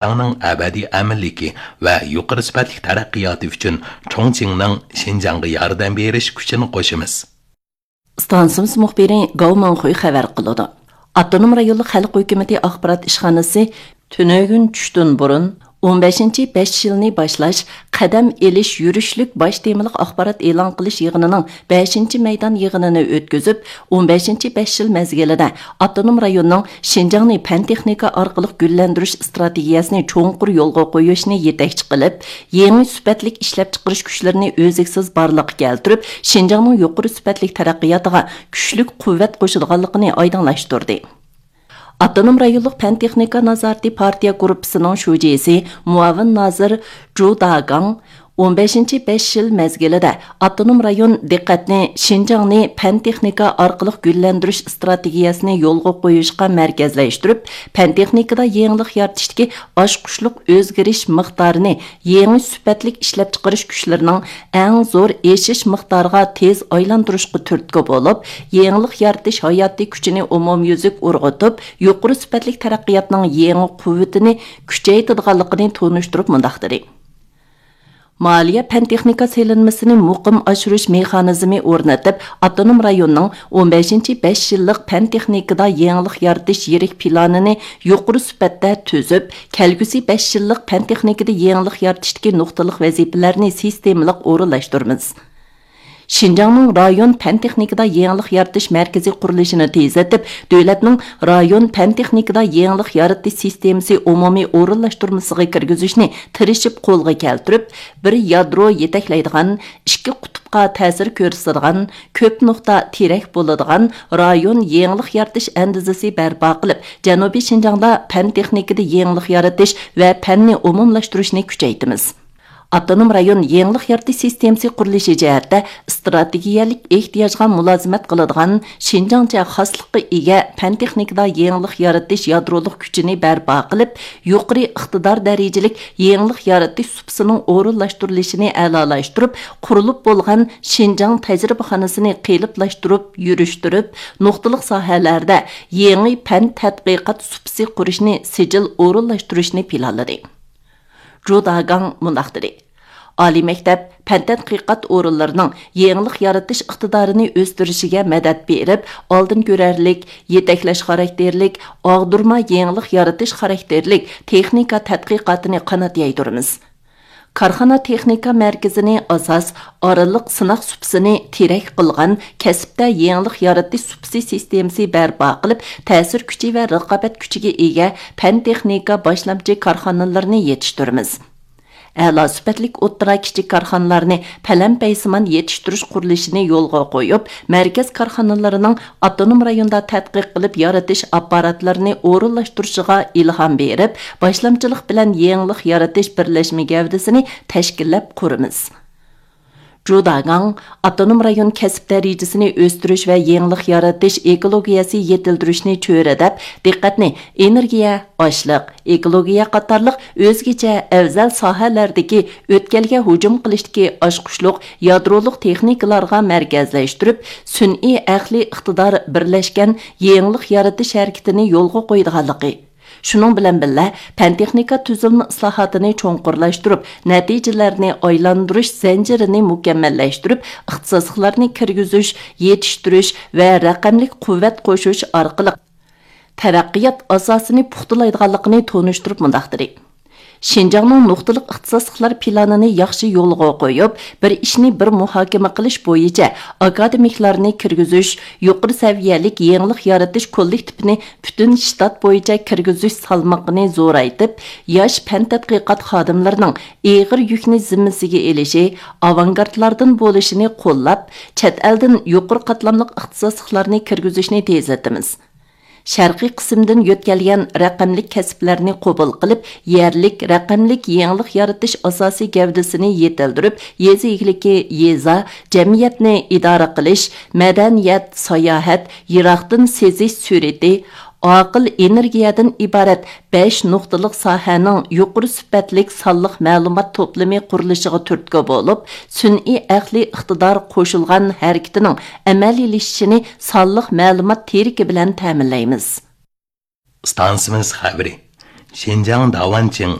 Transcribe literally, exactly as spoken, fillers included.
شىنجاڭنىڭ ئەبەدىي ئەمىنلىكى ۋە يۇقىرى سۈپەتلىك تەرەققىياتى ئۈچۈن چۇڭچىڭنىڭ شىنجاڭغا ياردەم بېرىش كۈچىنى قوشىمىز. ئىستانسىمىز مۇخبىرى گاۋ ماڭخۇي خەۋەر قىلىدۇ. ئاپتونوم رايونلۇق خەلق ھۆكۈمىتى ئاخبارات ئىشخانىسى تۈنۈگۈن چۈشتىن بۇرۇن ئون بەشىنچى بەش يىلنى باشلاش، قەدەم ئېلىش يۈرۈشلۈك باش تېمىلىق ئاخبارات ئېلان قىلىش يىغىنىنىڭ بەشىنچى مەيدان يىغىنىنى ئۆتكۈزۈپ، ئون بەشىنچى بەش يىل مەزگىلىدە ئاپتونوم رايوننىڭ شىنجاڭنى پەن تېخنىكا ئارقىلىق گۈللەندۈرۈش ئىستراتېگىيەسىنى چوڭقۇر يولغا قويۇشنى يېتەكچى قىلىپ، يېڭى سۈپەتلىك ئىشلەپچىقىرىش كۈچلىرىنى ئۈزلۈكسىز بارلىققا كەلتۈرۈپ، شىنجاڭنىڭ يۇقىرى سۈپەتلىك تەرەققىياتىغا كۈچلۈك قۇۋۋەت قوشىدىغانلىقىنى ئايدىڭلاشتۇردى. ئاپتونوم رايونلۇق پەن تېخنىكا نازارىتى پارتىيە گۇرۇپپىسىنىڭ شۇجىسى، مۇئاۋىن نازىر جۇ داگاڭ ئون بەشىنچى بەش يىل مەزگىلىدە ئاپتونوم رايون دىققەتنى شىنجاڭنى پەن تېخنىكا ئارقىلىق گۈللەندۈرۈش ئىستراتېگىيەسىنى يولغا قويۇشقا مەركەزلەشتۈرۈپ، پەن تېخنىكىدا يېڭىلىق يارىتىشتىكى ئاچقۇچلۇق ئۆزگىرىش مىقدارىنى يېڭى سۈپەتلىك ئىشلەپچىقىرىش كۈچلىرىنىڭ ئەڭ زور ئېشىش مىقدارىغا تېز ئايلاندۇرۇشقا تۈرتكە بولۇپ، يېڭىلىق يارىتىش ھاياتىي كۈچىنى ئومۇميۈزلۈك ئۇرغۇتۇپ، يۇقىرى سۈپەتلىك تەرەققىياتنىڭ يېڭى قۇۋۋىتىنى كۈچەيتىدىغانلىقىنى تونۇشتۇرۇپ مۇنداق دېدى. مالىيە پەن تېخنىكا سېلىنمىسىنى مۇقىم ئاشۇرۇش مېخانىزمى ئورنىتىپ، ئاپتونوم رايوننىڭ ئون بەشىنچى بەش يىللىق پەن تېخنىكىدا يېڭىلىق يارىتىش يىرىك پىلانىنى يۇقىرى سۈپەتتە تۈزۈپ، كەلگۈسى بەش يىللىق پەن تېخنىكىدا يېڭىلىق يارىتىشتىكى نۇقتىلىق ۋەزىپىلەرنى سىستېمىلىق ئورۇنلاشتۇرىمىز. شىنجاڭنىڭ رايون پەن تېخنىكىدا يېڭىلىق يارىتىش مەركىزى قۇرۇلۇشىنى تېزلىتىپ، دۆلەتنىڭ رايون پەن تېخنىكىدا يېڭىلىق يارىتىش سىستېمىسى ئومۇمىي ئورۇنلاشتۇرمىسىغا كىرگۈزۈشنى تىرىشىپ قولغا كەلتۈرۈپ، بىر يادرو يېتەكلەيدىغان، ئىككى قۇتۇپقا تەسىر كۆرسىتىدىغان، كۆپ نۇقتا تىرەك بولىدىغان رايون يېڭىلىق يارىتىش ئەندىزىسى بەرپا قىلىپ، جەنۇبىي شىنجاڭدا پەن تېخنىكىدا يېڭىلىق يارىتىش ۋە پەننى ئومۇملاشتۇرۇشنى كۈچەيتىمىز. ئاپتونوم رايون يېڭىلىق يارىتىش سىستېمىسى قۇرۇلۇشى جەھەتتە ئىستراتېگىيەلىك ئېھتىياجغا مۇلازىمەت قىلىدىغان، شىنجاڭچە خاسلىققا ئىگە پەن تېخنىكىدا يېڭىلىق يارىتىش يادرولۇق كۈچىنى بەرپا قىلىپ، يۇقىرى ئىقتىدار دەرىجىلىك يېڭىلىق يارىتىش سۇپىسىنىڭ ئورۇنلاشتۇرۇلۇشىنى ئەلالاشتۇرۇپ، قۇرۇلۇپ بولغان شىنجاڭ تەجرىبىخانىسىنى قېلىپلاشتۇرۇپ، يۈرۈشتۈرۈپ، نۇقتىلىق ساھەلەردە يېڭى پەن تەتقىقات سۇپىسى قۇرۇشنى سىجىل ئورۇنلاشتۇرۇشنى پىلانلىدى. جۇ داگاڭ مۇنداق دېدى: ئالىي مەكتەپ، پەن تەتقىقات ئورۇنلىرىنىڭ يېڭىلىق يارىتىش ئىقتىدارىنى ئۆستۈرۈشىگە مەدەت بېرىپ، ئالدىن كۆرەرلىك، يېتەكلەش خاراكتېرلىك، ئاغدۇرما يېڭىلىق يارىتىش خاراكتېرلىك تېخنىكا تەتقىقاتىنى قانات يايدۇرىمىز. كارخانا تېخنىكا مەركىزىنى ئاساس، ئارىلىق سىناق سۇپىسىنى تىرەك قىلغان كەسىپتە يېڭىلىق يارىتىش سۇپىسى سىستېمىسى بەرپا قىلىپ، تەسىر كۈچى ۋە رىقابەت كۈچىگە ئىگە پەن تېخنىكا باشلامچى كارخانىلىرىنى يېتىشتۈرىمىز. ئەلا سۈپەتلىك ئوتتۇرا، كىچىك كارخانىلارنى پەلەمپەيسىمان يېتىشتۈرۈش قۇرۇلۇشىنى يولغا قويۇپ، مەركەز كارخانىلىرىنىڭ ئاپتونوم رايوندا تەتقىق قىلىپ يارىتىش ئاپپاراتلىرىنى ئورۇنلاشتۇرۇشىغا ئىلھام بېرىپ، باشلامچىلىق بىلەن يېڭىلىق يارىتىش بىرلەشمە گەۋدىسىنى تەشكىللەپ قۇرىمىز. جۇ داگاڭ ئاپتونوم رايون كەسىپ دەرىجىسىنى ئۆستۈرۈش ۋە يېڭىلىق يارىتىش ئېكولوگىيەسى يېتىلدۈرۈشنى چۆرىدەپ، دىققەتنى ئېنېرگىيە، ئاشلىق، ئېكولوگىيە قاتارلىق ئۆزگىچە ئەۋزەل ساھەلەردىكى ئۆتكەلگە ھۇجۇم قىلىشتىكى ئاچقۇچلۇق يادرولۇق تېخنىكىلارغا مەركەزلەشتۈرۈپ، سۈنئىي ئەقلىي ئىقتىدار بىرلەشكەن يېڭىلىق يارىتىش ھەرىكىتىنى يولغا قويىدىغانلىقى، شۇنىڭ بىلەن بىللە، پەن تېخنىكا تۈزۈلمە ئىسلاھاتىنى چوڭقۇرلاشتۇرۇپ، نەتىجىلەرنى ئايلاندۇرۇش زەنجىرىنى مۇكەممەللەشتۈرۈپ، ئىختىساسلىقلارنى كىرگۈزۈش، يېتىشتۈرۈش ۋە رەقەملىك قۇۋۋەت قوشۇش ئارقىلىق تەرەققىيات ئاساسىنى پۇختىلايدىغانلىقىنى تونۇشتۇرۇپ مۇنداق دېدى: شىنجاڭنىڭ نۇقتىلىق ئىختىساسلىقلار پىلانىنى ياخشى يولغا قويۇپ، بىر ئىشنى بىر مۇھاكىمە قىلىش بويىچە ئاكادېمىكلارنى كىرگۈزۈش، يۇقىرى سەۋىيەلىك يېڭىلىق يارىتىش كوللېكتىپىنى پۈتۈن شتات بويىچە كىرگۈزۈش سالمىقىنى زورايتىپ، ياش پەن تەتقىقات خادىملىرىنىڭ ئېغىر يۈكنى زىممىسىگە ئېلىشى، ئاۋانگارتلاردىن بولۇشىنى قوللاپ، چەت ئەلدىن يۇقىرى قاتلاملىق ئىختىساسلىقلارنى كىرگۈزۈشنى تېزلىتىمىز. شەرقىي قىسىمدىن يۆتكەلگەن رەقەملىك كەسىپلەرنى قوبۇل قىلىپ، يەرلىك رەقەملىك يېڭىلىق يارىتىش ئاساسىي گەۋدىسىنى يېتىلدۈرۈپ، يېزا ئىگىلىكى، يېزا، جەمئىيەتنى ئىدارە قىلىش، مەدەنىيەت، ساياھەت، يىراقتىن سېزىش سۈرئىتى، ئاقىل ئېنېرگىيەدىن ئىبارەت بەش نۇقتىلىق ساھەنىڭ يۇقىرى سۈپەتلىك سانلىق مەلۇمات توپلىمى قۇرۇلۇشىغا تۈرتكە بولۇپ، سۈنئىي ئەقلىي ئىقتىدار قوشۇلغان ھەرىكىتىنىڭ ئەمەلىيلىشىشىنى سانلىق مەلۇمات تىرىكى بىلەن تەمىنلەيمىز. ئىستانسىمىز خەۋىرى. شىنجاڭ داۋانچىڭ